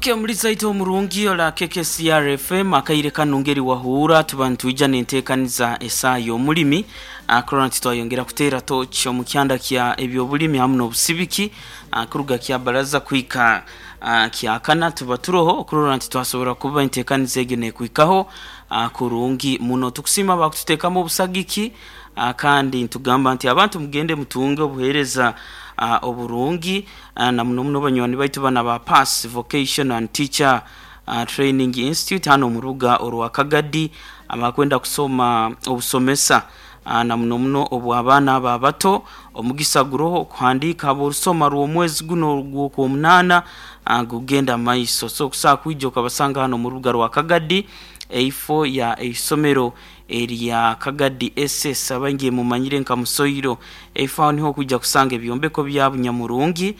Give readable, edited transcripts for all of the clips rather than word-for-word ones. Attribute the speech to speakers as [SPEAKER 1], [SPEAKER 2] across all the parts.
[SPEAKER 1] Ok omulizi aita omurungi ola KKCR FM akaire kanu ngeri wahuura tuba nitwija nentekaniza esaaha yomulimi kurora nti twayongera kuteera torch omu kyanda kya ebyobulimi hamu nobusibiki kuruga kyabaraza kuhika kyakana tuba turoho okurora nti twasobora kuba entekaniza egyo nekuhikaho kurungi muno. Tukusiima abakututekamu obusagiki kandi nitugamba nti abantu mugende mutunge obuhereza oburungi na muno muno banywani baitu banu aba Pass Vocational and Teacher Training Institute hanu omu rubuga orwa Kagadi abakwenda kusoma obusomesa na muno muno obw'abaana abo abato. Omugisa guroho okuhandiika habw'orusoma rw'omwezi guno ogw'Okwomunaana gugenda maiso. So okusobola kwija okabasanga hanu omu rubuga rwa Kagadi eifo ya eisomero erya Kagadi SS abaingi mumanyire nka Musoiro. Eifo aho niho okwija kusanga ebyombeko bya Bunyamurungi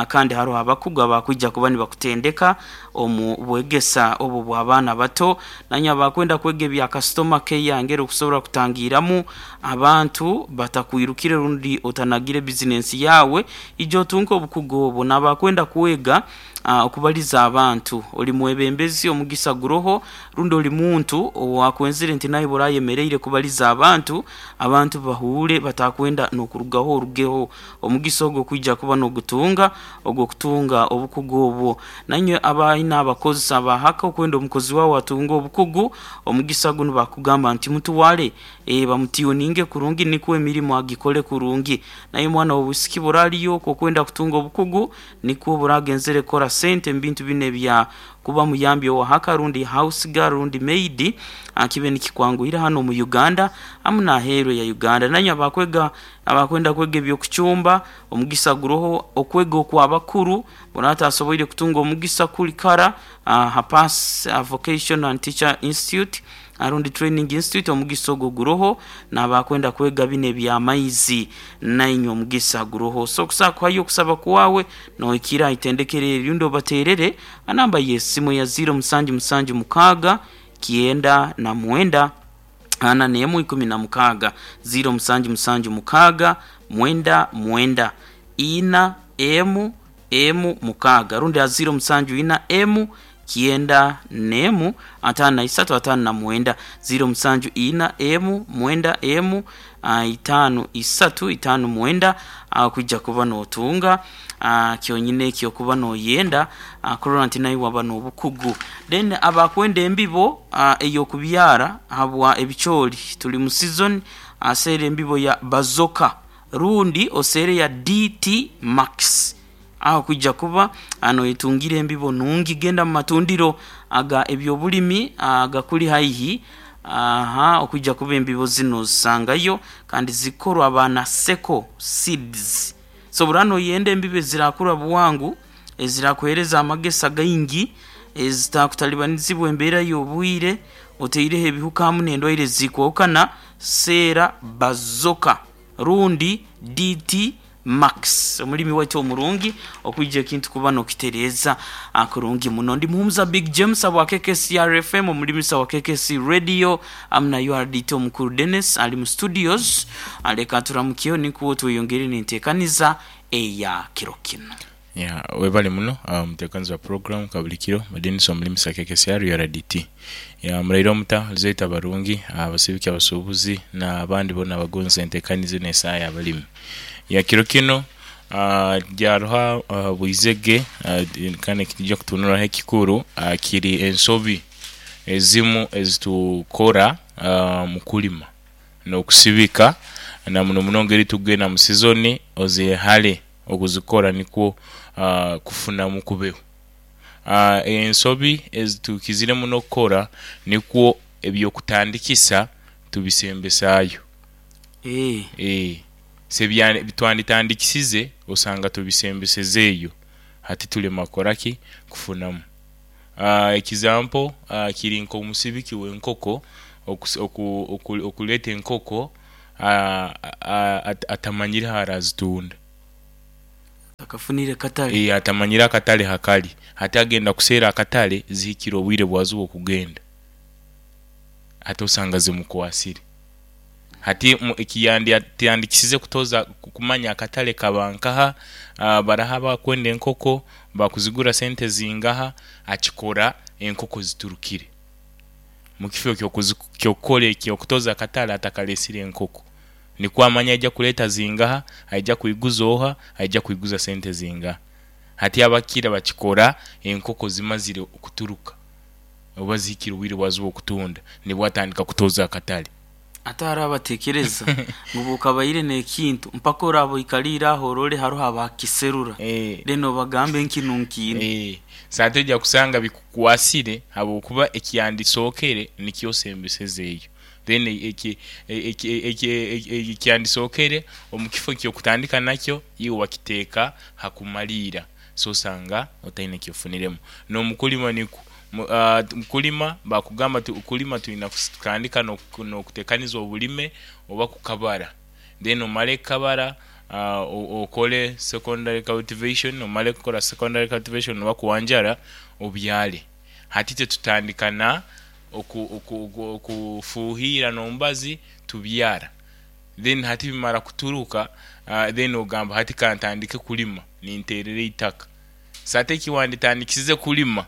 [SPEAKER 1] kandi haroho abakugu abakwija kuba nibakutendeka omu bwegesa obwo bw'abaana abato. Nanye abakwenda kwega ebya kasitoma keya engeri okusobora kutangiiramu abantu batakwirukire rundi otanagire bizinensi yaawe, ija otunke obukugu obwo. N'abakwenda kwega okubaliza abantu, oli mwebembezi omugisa guroho rundi oli muntu owakwenzire nti naiwe orayemereire kubaliza abantu, abantu bahuure batakwenda n'okurugaho orugeho. Omugisa ogwo kwija kuba n'ogutunga ogw'okutunga obukugu obwo. Nainywe abaine abakozi aba haka okwenda omukozi waawe atunge obukugu, omugisa gunu bakugamba nti mutwale bamutiyuninge kurungi nikwo emirimo agikole kurungi. Naiwe mwana w'obwisiki bw'oraliyo okwo okwenda kutunga obukugu nikwo bw'oragenzere kukora sente mu bintu binu ebya kuba muyambi owa haka rundi house girl rundi maid kibe nikikwanguhira hanu omu Uganda hamu n'aheeru eya Uganda. Nainywe abakwega abakwenda kwega eby'okucumba Omugisa guroho okwega okw'abakuru, bwona atasoboire kutunga omugisa kuli kara ha Pass Vocational and Teacher Institute rundi Training Institute, omugisa ogwo guroho. N'abakwenda kwega bino eby'amaizi nainywe omugisa guroho. So okusobola kuhayo okusaba kwawe nohikira aha itendekero eri rundi obaterere ha namba y'esimu eya ziiro musanju musanju mukaaga kyenda na mwenda ana n'emu ikumi na mukaaga, ziiro musanju musanju mukaaga, mwenda mwenda, ina emu emu mukaaga, rundi ha ziiro musanju ina emu kyenda n'emu ataano na isatu ataano na mwenda, ziiro musanju ina emu mwenda emu itaanu isatu itaanu mwenda, agho kwija kuba n'otunga kyonyine eky'okuba n'oyenda kurora nti naiwe waba n'obukugu. Then abakwenda embibo ey'okubyara habwa ebicoori, tuli mu season, aseere embibo ya Bazooka rundi oseere eya DT Max. Agho kwija kuba noyetungira embibo nungi. Genda mu matundiro aga eby'obulimi agakuli haihi aha okwija kuba embibo zino ozisangayo kandi zikorwa ba Naseko Seeds. So bw'oraba noyenda embibo ezirakura bwangu, ezirakuheereza amagesa gaingi, ezitakutalibanizibwa embeera y'obwire, otaireho ebihuka hamu n'endwaire ezikwahukana, seera Bazooka rundi DT Max. Omulimi waitu omurungi okwija ekintu kuba n'okitereeza kurungi muno. Ndi Muhumuza Big James habwa KKCR FM, omulimisa wa KKC Radio hamu na URDT omukuru Dennis ali mu studios. Leka turamukyeho nikwo tweyongere n'enteekaniza eya kiro kinu.
[SPEAKER 2] Yeah, webale muno omuteekanizi wa program kabulikiro Denis Omulimisa KKCR URDT. Yeah, muraire omuta Luzeitu abarungi, abasibiki abasubuzi na abandi bona abagonza enteekaniza eno esaaha ya balimi. Yeah, kiro kino gyaroho bwizege kandi ekitwija kutunuraho ekikuru kiri ensobi ezimu ezitukora mukulima nokusibika na muno muno engeri tugenda mu sizoni ozehale okuzikora nikwo kufunamu kubeho. Ensobi ezitukizire muno okukora nikwo eby'okutandikisa tubisembesaayo. Se bitwanditandikisize osanga tubisembesezeeyo hati tulema kukora ki? Kufunamu. Ekizampo kiri nk'omusibiki w'enkoko okuleeta enkoko atamanyire h'arazitunda.
[SPEAKER 1] Atakafunire katale.
[SPEAKER 2] Ee, atamanyire akatale hakali. Hati agenda kuseera akatale zihikire obwire bwazo obw'okugenda. Hati osanga zimukwasire. Hati ekiyandikisize kutoza kumanya akatale kaba nkaha, baraha abakwenda enkoko bakuzigura sente zingaha, akikora enkoko ziturukire mukifo kyokukora ekyokutoza akatale atakalesire enkoko nikwo amanye aija kuleta zingaha, aija kwiguza oha, aija kwiguza sente zingaha. Hati abakira bakikora enkoko zimazire okuturuka oba zihikire obwire bwazo obwokutunda nibwo atandika kutoza akatale.
[SPEAKER 1] Ate hariho abatekereza ngu bwokabaire nekintu mpaka oraba oikalire aho orole haroho abakiserura then obagambe nkinu nkiina.
[SPEAKER 2] Sati oija kusanga bikukwasire habwokuba ekyandisookere nikyo osembesezeyo then ekyandisookere omukifo kyokutandika nakyo iwe wakiteeka hakumaliira so osanga otaine kyofuniremu. Nomukulima nikwo, mukulima bakugamba okulima tuyina kutandika nokutekaniza obulime oba kukabara then omare kukabara okole secondary cultivation, omare kukora secondary cultivation oba kuwanjara obyare. Hati itwe tutandika na okufuhira nomubazi tubyara then hati bimara kuturuka then ogamba hati kantandike kulima ninterera eitaka. So hati ekiwanditandikisize kulima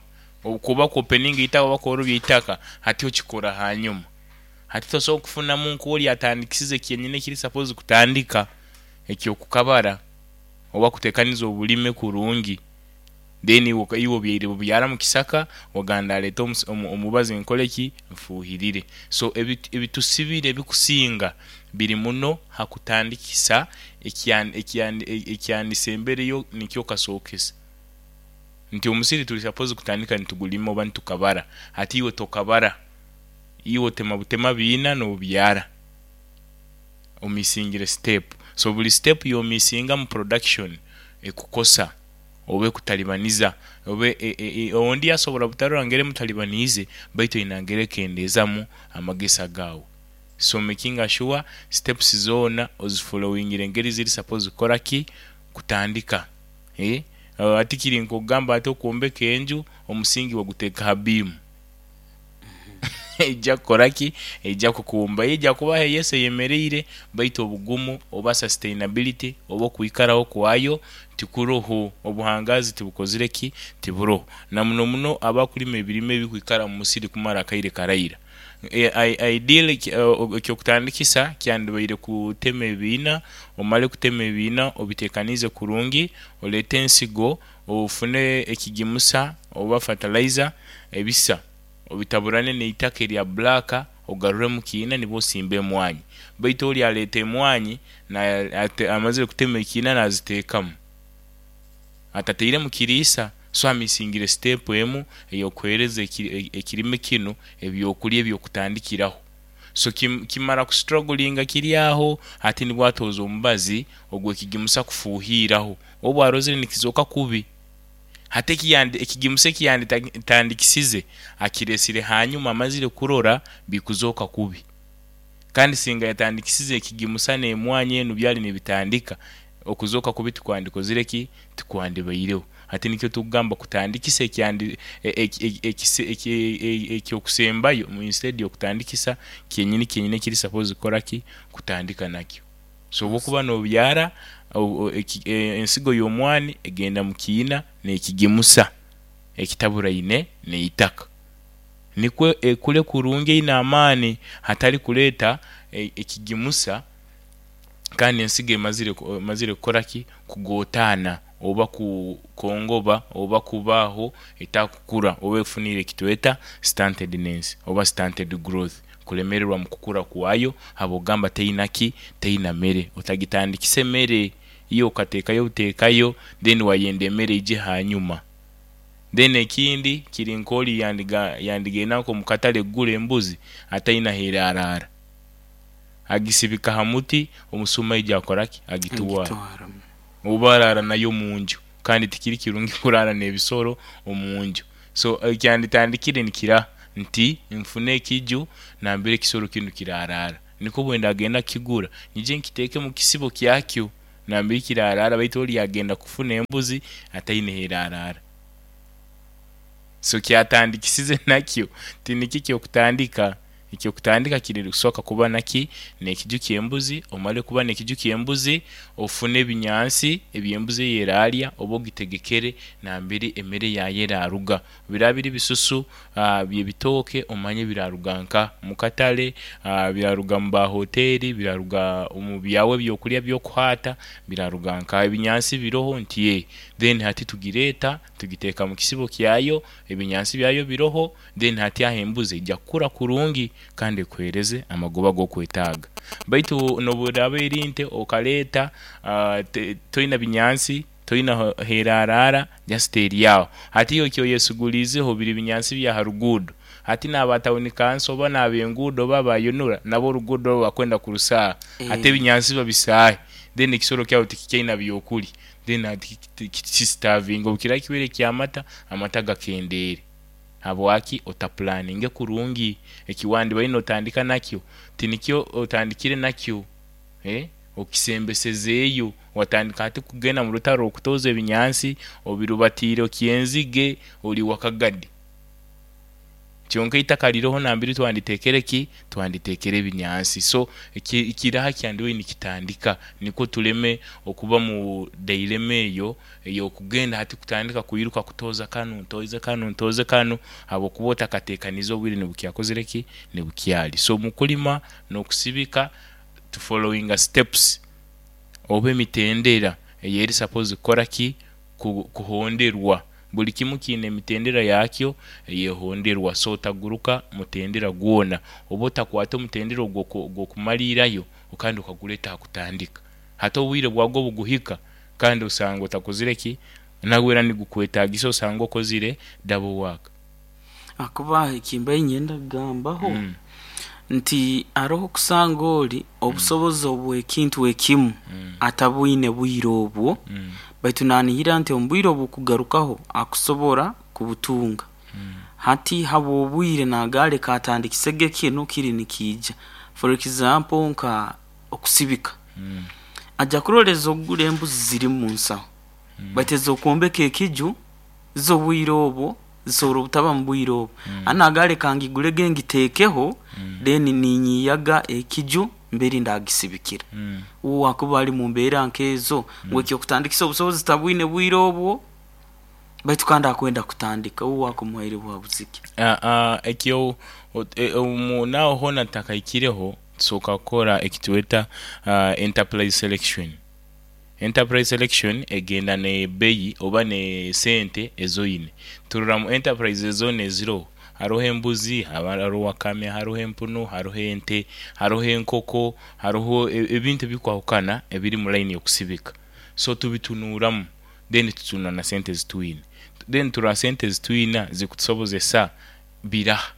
[SPEAKER 2] kuba kwopeninga eitaka oba kworobya eitaka hati okikora hanyuma. Hati tosobola kufunamu nkoli atandikisize kyenyini ekiri sapozi kutandika ekyokukabara oba kutekaniza obulime kurungi then iwe obyaire bubyara mukisaka ogamba ndaleta omubazi nkoleki nfuhirire. So ebitusibire ebikusinga biri muno hakutandikisa ekyandisembereyo nikyo okasokesa nti omusiri turi sapozi kutandika nitugulima oba nitukabara hati iwe tokabara iwe otema butema biina nobyara omisingire step so buri step yomisinga omu production ekukosa oba ekutalibaniza oba ondi asobola butarora ngeri emutalibaniize baitu aine ngeri ekendeezamu amagesa gaawe. So makinga sure steps zoona ozifolowingire engeri ziri sapozi kukoraki kutandika. Hati kiri nk'okugamba hati okwombeka enju omusingi waguteeka ha biimu eija kukoraki eija kukumba. Eija kubaho yes eyemereire baitu obugumu oba sustainability oba okwikaraho kwayo tikuroho, obuhangazi tibukozire ki tiburoho. Na muno muno abakulima ebirime ebikwikara omu musiri kumara akaire karaira. Ideally ekyokutandikisa kyandibaire kutema ebiina, omale kutema ebiina obitekaniize kurungi, oleete ensigo, ofune ekigimusa oba fertilizer ebisa obitaburane neitaka erya black ogaruremu kiina nibwo osimba emwanyi. Baitu ori aleeta emwanyi amazire kutema ekiina naziteekamu atatairemu kiriisa so amisingire sitepu emu eyokuhereza ekirime kinu ebyokurya ebyokutandikiraho. So kimara kustrugglinga kiri aho hati nibwo atooza omubazi ogwekigimusa kufuhiiraho obu arozire nikizooka kubi. Hati ekigimusa ekiyanditandikisize akiresire hanyuma amazire kurora bikuzooka kubi. Kandi singa yatandikisize ekigimusa n'emwanyi enu byali nibitandika, okuzooka kubi tikwandikozire ki? Tikwandibaireho. Hati nikyo tukugamba kutandikisa ekyokusembayo instead yokutandikisa kyenyini kyenyini ekiri sapozi kukoraki? Kutandika nakyo. So obwokuba nobyara ensigo y'omwani egenda mukiina nekigimusa ekitaburaine neitaka nikwo ekule kurungi eine amaani hatari kuleeta ekigimusa kandi ensigo emazire kukoraki kugotaana oba kukongoba oba kubaaho etakukura oba efunire ekitweta stuntedness oba stunted growth kulemererwa mukukura kwayo habwokugamba teina ki teina mere. Otagitandikisa emere iwe okatekayo butekayo then wayenda emere eije hanyuma. Then ekindi kiri nk'ori yandigenda nk'omukatale kugura embuzi ataine aherarara agisibika ha muti omusuma aija akoraki agitwara oba arara nayo omunju kandi tikiri kirungi kurara n'ebisoro omunju. So ekyanditandikire nikira nti nfune ekiju nambere ekisoro kinu kirarara nikwo bwendagenda kukigura nyije nkiteeke mukisibo kyakyo nambere kirarara baitu ori agenda kufuna embuzi ataine herarara. So kyatandikisize nakyo tinikyo ekyokutandika. Ekyokutandika kiri kusooka kuba naki n'ekiju ky'embuzi, omale kuba n'ekiju ky'embuzi, ofune ebinyansi eby'embuzi eyo eraalya oba ogitegekere nambere emere yayo eraaruga. Biraaba biri bisusu by'ebitooke omanye biraaruga nkaha, mu katale, biraaruga mu ba hoteeri, biraaruga omu byawe ebyokulya ebyokuhaata, biraaruga nkaha? Ebinyansi biroho nti ee, then hati tugireeta tugiteeka mu kisibo kyayo, ebinyansi byayo biroho, then hati aho embuzi eija kukura kurungi kandi ekuheereze amagoba ag'okwetaaga. Baitu n'obu eraaba eri nte okaleeta toina binyansi, toina h'eraaraara, just eri aho. Hati iwe eki oyesuguliizeho biri binyansi bya ha ruguudo. Hati n'aba tawuni kanso oba n'ab'enguudo oba aba UNRA nabo oruguudo orwo bakwenda kurusaaha. Hati ebinyansi babisaahe, then ekisoro kyawe tikikyaina byokulya, then hati kisitaavinge. Obu kiraba kibaire ky'amata, amata gakendeere. Habwaki otapulaninge kurungi? Eki wandibaire n'otandika nakyo tinikyo otandikire nakyo, okisembesezeeyo. Watandika hati kugenda mu rutaro okutooza ebinyansi, obirubatiire okyenzige, ori wakagadi. Kyonka eitaka riroho nambere twanditekere ki? Twanditekere ebinyansi. So kiraha kyandibaire nikitandika nikwo tuleme okuba mu dailema eyo ey'okugenda hati kutandika kwiruka kutooza kanu, ntooze kanu, ntooze kanu habwokuba otakateekaniize obwire nibukyakozire ki? Nibukyali. So mu kulima n'okusibika tufolowinga steps oba emitendera eyeri suppose kukora ki? Kuhonderwa. Buli kimu kiine emitendera yakyo eyehonderwa. So otaguruka mutendera gwona oba otakwata omutendera ogw'okumaliirayo kandi okagureeta ha kutandika. Hati obwire bwagwo obuguhika kandi osanga otakozire ki? Nagwo era nigukwetagisa osange okozire double work.
[SPEAKER 1] Ahakuba eki mbaire niinyenda kugambaho nti haroho okusanga ori obusobozi obw'ekintu ekimu atabwine bwire obwo, baitu naanihira nti omu bwire obukugarukaho akusobora kubutunga. Hati habw'obwire nagamba leka atandikisege kinu kiri nikiija. For example nka okusibika, aja kurora ez'okugura embuzi ziri mu nsaho, baitu ez'okwombeka ekiju zo obwire obwo zisobora obutaba mu bwire obwo. Hati nagamba leka ngigurege ngiteekeho then ninyiyaga ekiju mberi ndagisibikira. Uwe akuba ali mu mbeera nk'ezo ngu eky'okutandikisa obusobozi tabwine bwire obwo baitu kandi akwenda kutandika, uwe akumuhaire buhabuzi ki?
[SPEAKER 2] Ekyo naho hoona tutakahikireho tusooka kukora eki tweta enterprise selection. Enterprise selection egenda n'ebbeyi oba n'esente ez'oine. Turora mu enterprise zoona eziroho, haroho embuzi, haroho wakame, haroho empunu, haroho ente, haroho enkoko, haroho ebintu ebikwahukana ebiri mu line y'okusibika. So tubitunuuramu then tutunura na sente ezi twine. Then turora sente ezi twina zikutusobozesa biraha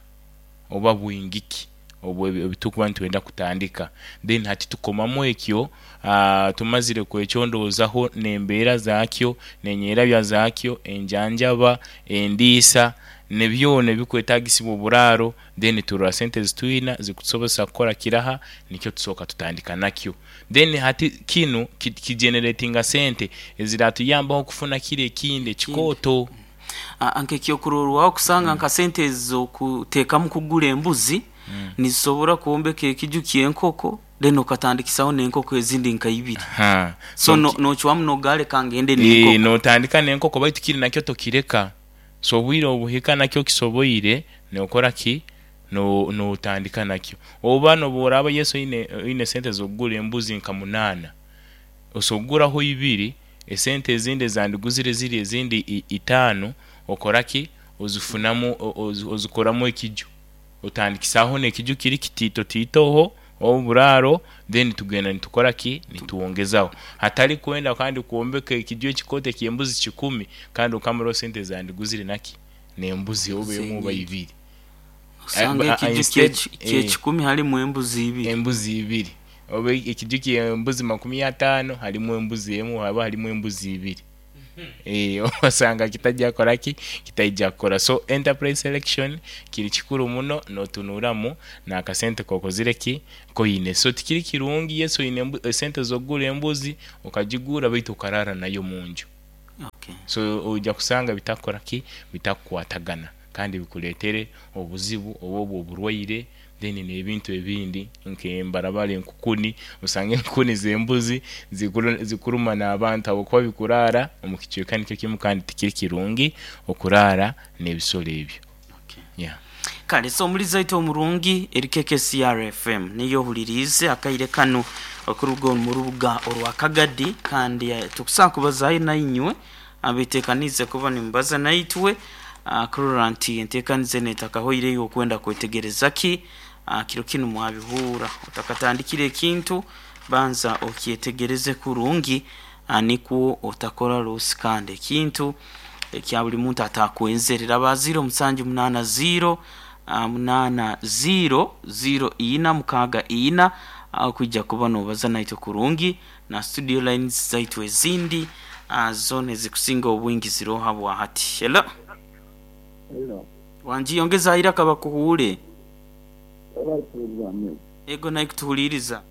[SPEAKER 2] oba bwingi ki obu tukuba nitwenda kutandika. Then hati tukomamu ekyo, tumazire kwekyondoozaho n'embeera zaakyo, n'enyerabya zaakyo, enjanjaba, endiisa, ni byona ebikwetaagisibwa oburaaro, then turora sente ezi twina zikutusobozesa kukora kiraha, nikyo tusooka tutandika nakyo. Then hati kinu kigeneretinga sente eziratuyambaho kufuna kiri ekindi ekikooto.
[SPEAKER 1] Nk'ekyokurorwaho kusanga nka sente ez'okuteekamu kugura embuzi nizisobora kwombeka ekiju ky'enkoko then okatandikisaho n'enkoko ezindi nka ibiri. So n'ocwamu n'ogamba leka ngende n'enkoko.
[SPEAKER 2] N'otandika n'enkoko baitu kiri nakyo tokireka. So obwire obuhika nakyo okisoboire n'okora ki? N'otandika nakyo. Oba n'obu oraaba yes oine sente z'okugura embuzi nka munaana, osobola kuguraho ibiri, esente ezindi ezandiguzire ziri ezindi itaano okora ki? Ozifunamu ozikoramu ekiju. Otandikisaaho n'ekiju kiri kitiitotiitoho oburaaro then tugenda nitukora ki? Nitwongezaho. Hatari kwenda kandi kwombeka ekiju ekikooto eky'embuzi kikumi kandi okamaraho sente ezandiguzire naki? N'embuzi oba emu oba ibiri.
[SPEAKER 1] Osanga ekiju ky'ekikumi harimu embuzi ibiri.
[SPEAKER 2] Embuzi ibiri. Oba ekiju ky'embuzi makumi ataano harimu embuzi emu oba harimu embuzi ibiri. Osanga kitaija kukora ki? Kitaija kukora. So enterprise selection kiri kikuru muno n'otunuuramu n'akasente k'okozire ki? K'oine. So tikiri kirungi yes oine esente z'okugura embuzi okagigura baitu okaraara nayo omunju. So oija kusanga bitakukora ki? Bitakukwatagana kandi bikureetere obuzibu oba obw'oburwaire. Then n'ebintu ebindi nk'embarabara, enkukuni, osanga enkukuni z'embuzi zikuruma n'abantu habwokuba bikuraara omu kicweka nikyo kimu, kandi tikiri kirungi okuraara n'ebisoro ebyo.
[SPEAKER 1] Okay.
[SPEAKER 2] Yeah.
[SPEAKER 1] Kale, so omulizi aitu omurungi, eri KKCR FM niyo ohuliriize akaire kanu okuruga omu rubuga orwa Kagadi, kandi tukusobola kubazaayo nainywe abeteekaniize kuba nimubaza naitwe, kurora nti enteekaniza enu etakahoireyo okwenda kwetegereza ki. Kiro kinu mwabihuura, otakatandikire ekintu banza okyetegereze kurungi, nikwo otakora losi kandi ekintu ekya buli muntu atakwenzere. Raba 0780 80 04 64 kwija kuba nobaza naitwe kurungi, na studio lines zaitu ezindi zona ezikusinga obwingi ziroho habwahati. Hello.
[SPEAKER 3] Hello.
[SPEAKER 1] Wangi, yongeza iraka bakuhuure.
[SPEAKER 3] Webale.
[SPEAKER 1] Ego, naikutuhuliiriza.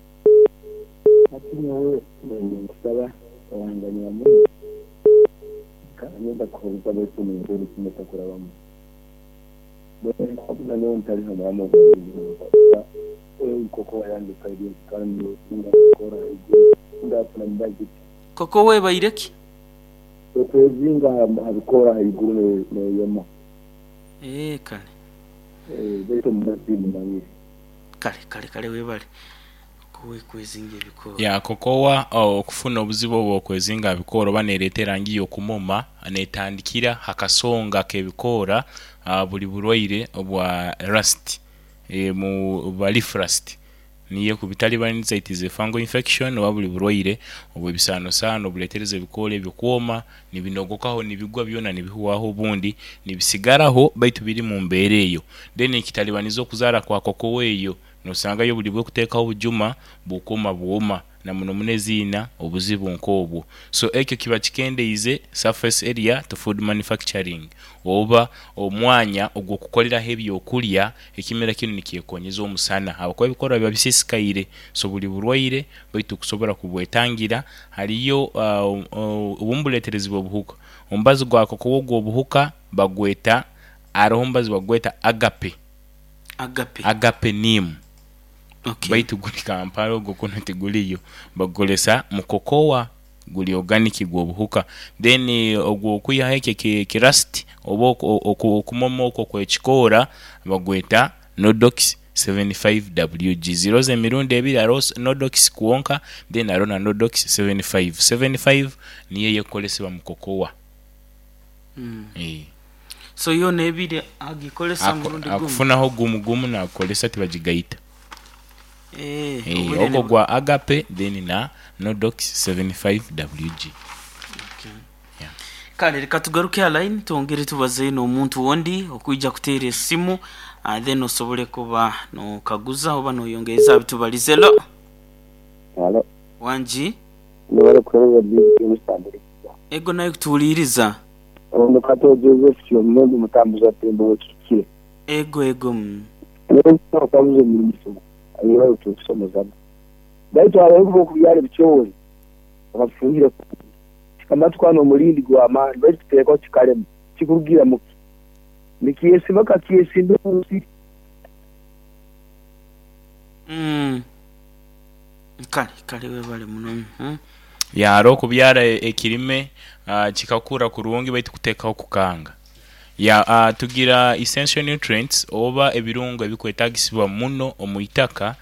[SPEAKER 3] Hati nyowe ninkusaba owanganyira muno, kandi nyenda kuhuliza baitu omu kimwe takurabamu. Nyowe ntali hamuramu koko wayandika ebintu kandi ngakora ndafuna mubazi.
[SPEAKER 1] Koko webaire ki?
[SPEAKER 3] Okwezinga habikora haiguru neyoma.
[SPEAKER 1] Kale.
[SPEAKER 3] Baitu omubazi mumanyire.
[SPEAKER 1] Kale kale kale, webale kwezinga ebikoora.
[SPEAKER 2] Ya, kokowa okufuna obuzibu obwo okwezinga bikoora oba nereeta erangi y'okumoma, netandikira hakasonga k'ebikoora. Buli burwaire obwa rust, mu ba leaf rust niyo ekubitalibaniza, it is a fungal infection, oba buli burwaire obw'ebisaanosaano obuleetereza ebikoora ebyo kwoma nibinogokaho, nibigwa byona nibihwaho, obundi nibisigaraho baitu biri mu mbeera eyo. Then nikitalibaniza okuzaara kwa kokowa eyo, nosangayo buli bwekuteekaho obujuma bukoma bwoma, na muno muno eziina obuzibu nk'obwo. So ekyo kiba kikendeize surface area to food manufacturing, oba omwanya ogw'okukoleraho ebyokulya. Ekimera kinu nikyekonyeza omusana habwokuba ebikoora biba bisisikaire. So buli burwaire, baitu kusobora kubwetangira haliyo obumu buleeterezibwa obuhuka. Omubazi gwa kokowa ogw'obuhuka bagweta, haroho omubazi bagweta agape.
[SPEAKER 1] Agape.
[SPEAKER 2] Agape neem.
[SPEAKER 1] Okay.
[SPEAKER 2] Baitu guli Kampala ogwo kunu tiguliyo, bagukozesa mu kokowa, guli organic gw'obuhuka. Then ogwo okwihaho ekyo ekirust oba okumoma okwo okw'ekikoora bagweta Nodox 75WG. Ziroho emirundi ebiri, haroho Nodox kwonka, then haroho na Nodox 75. 75 niyo eyekukozesebwa mu kokowa.
[SPEAKER 1] So yoona ebiri agikozesa murundi gumu?
[SPEAKER 2] Akufunaho gumu gumu nagukozesa, tibagigaita. Ogwo gwa Agape then na Nodox 75WG.
[SPEAKER 1] Okay. Kale leka tugaruke ha line twongere tubaze n'omuntu ondi okwija kuteera esimu, then osobole kuba nokaguza oba noyongereza aha bitubalize. Hello.
[SPEAKER 3] Halo.
[SPEAKER 1] Wangi.
[SPEAKER 3] Nibale kuhereza BBK musambire.
[SPEAKER 1] Ego, naye kutuwuliriza.
[SPEAKER 3] Ono Kato Joseph Kyomuhendo, mutambuza tembo wekikire.
[SPEAKER 1] Ego ego.
[SPEAKER 3] Okabuza omulimu ayibayo tukusomozamu. Baitu abayivu okubyala ebicoori bakabifungira kikamatwana omulindi gw'amaani, baitu kiteekwa kikalema kikurugira muki nikyesiba kakyesimba omusiri.
[SPEAKER 1] Kale kale, webale muno.
[SPEAKER 2] Ya, hariho okubyara ekirime kikakura kurungi baitu kuteekaho kukanga. Ya, tugira essential nutrients oba ebirungo ebikwetagisibwa muno omu itaka.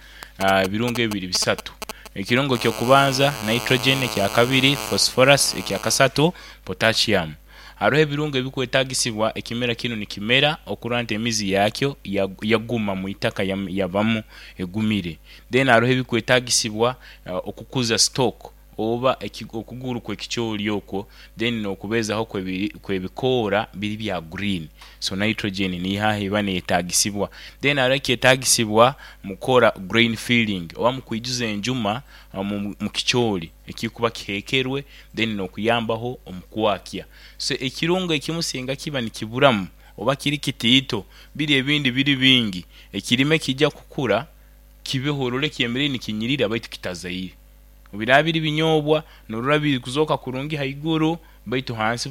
[SPEAKER 2] Ebirungo ebi biri bisatu. Ekirungo eky'okubanza nitrogen, ekyakabiri phosphorus, ekyakasatu potassium. Haroho ebirungo ebikwetagisibwa ekimera kinu nikimera okurora nti emizi yakyo yaguma mu itaka, yabamu egumire. Then haroho ebikwetagisibwa okukuza stock oba okuguru kw'ekicoori okwo, then n'okubeezaho kw'ebikoora biri bya green. So nitrogen niyo aho eba neyetagisibwa. Then haroho ekyetagisibwa mukukora grain filling oba mukwijuza enjuma mu kicoori ekikuba kiheekerwe, then n'okuyambaho omu kwakya. So ekirungo ekimu singa kiba nikiburamu oba kiri kitiito, biri ebindi biri bingi, ekirime kija kukura kibeho orole kyemeriire nikinyirira baitu kitazaire. Biraba biri binyobwa norora biri kuzooka kurungi haiguru baitu hansi.